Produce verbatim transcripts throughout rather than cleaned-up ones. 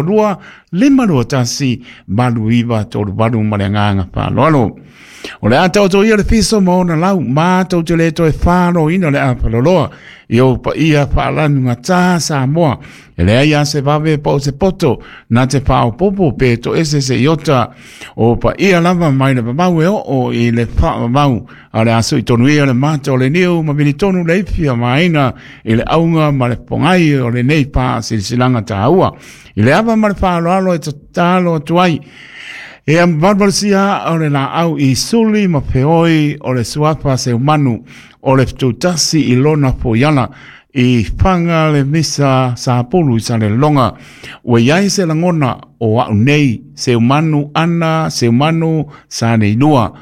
lua lima lua tasi valu iva tolu valu ma le agaga faaaloalo. O le a taoto ia le fiso ma ona lau matou te le toe faloina le apaloloa i ou paia faalanugatā Samoa. E leai a se vave po o se poto na te faaopopo pe toese se iota o paia lava mai le vavau e oo i le faavavau a o le a suitonu ia le mata o le niu ma militonu le ifi maina i le auga ma le pogai o lenei faasilasilaga taua. I le ava ma le faaaloalo e tatalo atu ai e valuvalusia o le laau i suli ma feoi o le suafa Seumanu o le fetutasi i lona foiala i faga le misa sapulu i Salelologa. Ua i ai se lagona o a'u nei Seumanu ana Seumanu sa nei lua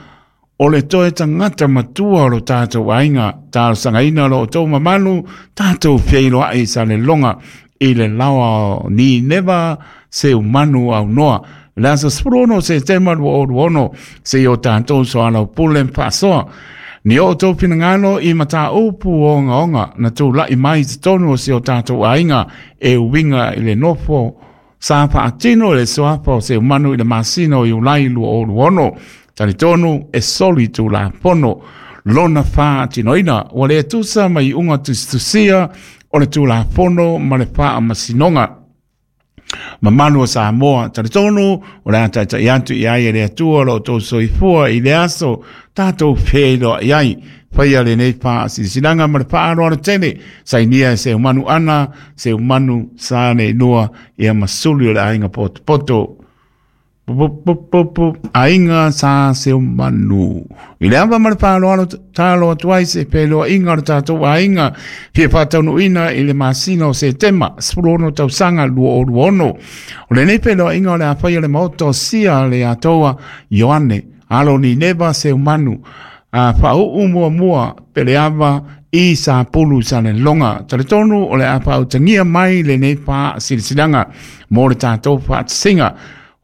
o le toe tagata matua o lo tatou aiga. Talosagaina lo outou mamalu tatou feiloai i Salelologa i le laoa o Nineva Seumanu aunoa le aso sefulu ono o Setema lua o lua ono seia o tatou soalaupule ma faasoa ni o outou finagalo i mataupu ogaoga na tula'i mai i totonu o si o tatou aiga e uiga i le nofo sa faatino i le suafa o Seumanu i le masina o Iulai lua o lua ono. Talitonu e soli tulafono lona faatinoina ua le tusa ma iuga tusitusia o le tulafono ma le faamasinoga mamalu o Samoa. Talitonu o le a taitai atu i ai e le Atua lo outou soifua i le aso tatou feiloai ai. Faia lenei faasilasilaga ma le faaaloalo tele. Sainia e Seumanu ana Seumanu sa nei lua ia ma suli o le aiga potopoto aiga sa Seumanu. I le ava ma le faaaloalo talo atu ai se feiloaiga o le tatou aiga fia faataunuuina i le masina o Setema sefulu ono tausaga lua o lua ono. O lenei feiloaiga o le a faia le maota o Sia le Atoa Ioane alo Nineva Seumanu a faauu muamua Peleava i Sapulu i Salelologa. Talitonu o le a faautagia mai lenei faasilasilaga mo le tatou faatasiga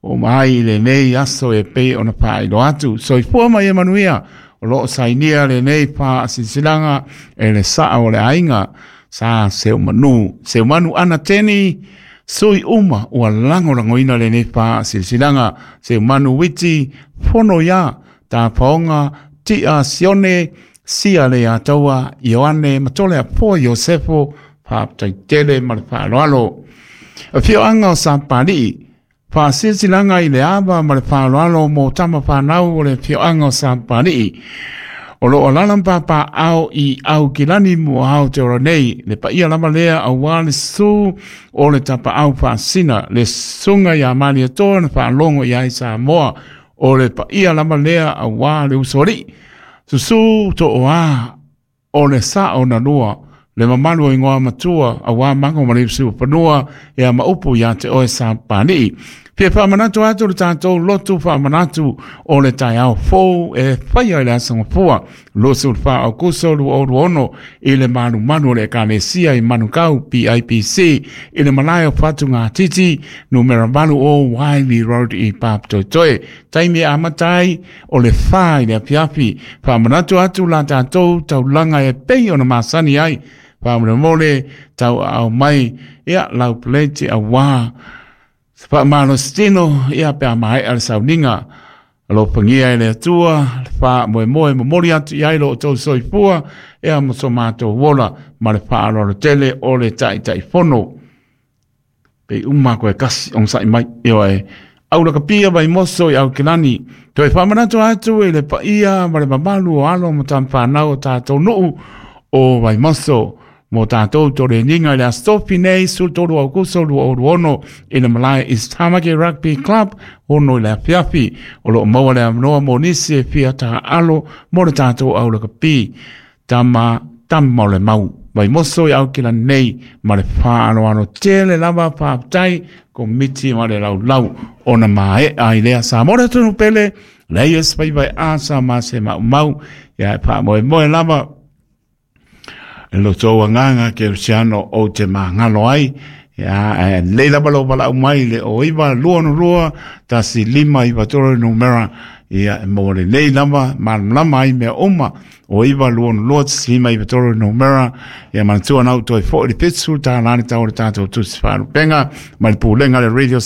o mai lenei aso e pei ona faailoa atu. Soifua ma ia manuia. O loo sainia lenei faasilasilaga e le saa o le aiga sa Seumanu, Seumanu ana Teni sui uma ua lagolagoina lenei faasilasilaga: Seumanu Witi Fono ia Tafaoga Tia Sione Sia le Ataua Ioane Matole Afoa Iosefo. Faafetai ma le faaaloalo. Afioaga o Sapalii, faasilasilaga i le ava ma le faaaloalo mo tama fanau o le afioaga o Sapalii o loo alaala ma papaaao i Aukilani Muaau Te Ora nei, le paia lava lea auā le susu o le tapaau faasina le susuga ia Malietoa na faalogo i ai Samoa. O le paia lava lea auā le usoalii susu Tooā o le sao na lua le mamalu o igoa matua auā mago ma le fanua ia ma upu ia te oe Sapalii. Fia faamanatu atu le tatou lotu faamanatu o le taeao fou e faia i le aso Gafua luasefulu fa Aokuso lua o lua ono i le malumalu o le Ekalesia i Manukau P I P C i le malae o Fatugatiti numera valu o Wiley Road i Papatoetoe. Taimi e amata ai o le fa i le afiafi. Faamanatu atu la tatou taulaga e pei ona masani ai. Faamolemole tauaao mai ia lau peleti auā faamalositino ia pe a maea le sauniga. Alofagia e le Atua le faamoemoe momoli atu i ai lo outou soifua ea ma so matou ola ma le faaaloalo tele o le Taitaifono. Pe uma koe kasi ogosa'i mai ioe aulakapia Vaimoso i Aukilani. Toe faamanatu atu i le paia ma le mamalu o alo ma tamafanau o tatou nuu o Vaimoso mo tatou toleniga i le Aso Tofi nei sefulu tolu Aukuso lua o lua ono i le malae East Tamaki Rugby Club ono i le afiafi. O loo maua le avanoa mo nisi e fia taaalo mo le tatou aulakapi tama tama o le mau Vaimoso i Aukilani nei ma le faaaloalo tele lava. Faafetai komiti ma le laulau ona mae'a i lea Samoa le atunu pele leia se faiva e asa ma se maumau ia e faamoemoe lava e lo tou agaga kerisiano ou te magalo ai ia e lei lava lou valaau mai le o iva lua ono lua tasi lima iva tolu numera. Ia e maua lelei lava malamalama ai mea uma. O iva lua ono lua tasi lima iva tolu le numera. Ia manatua na ou toe foi le fitusefulu tālā le tau o le tatou tusi faalupega mai le pulega le Radio.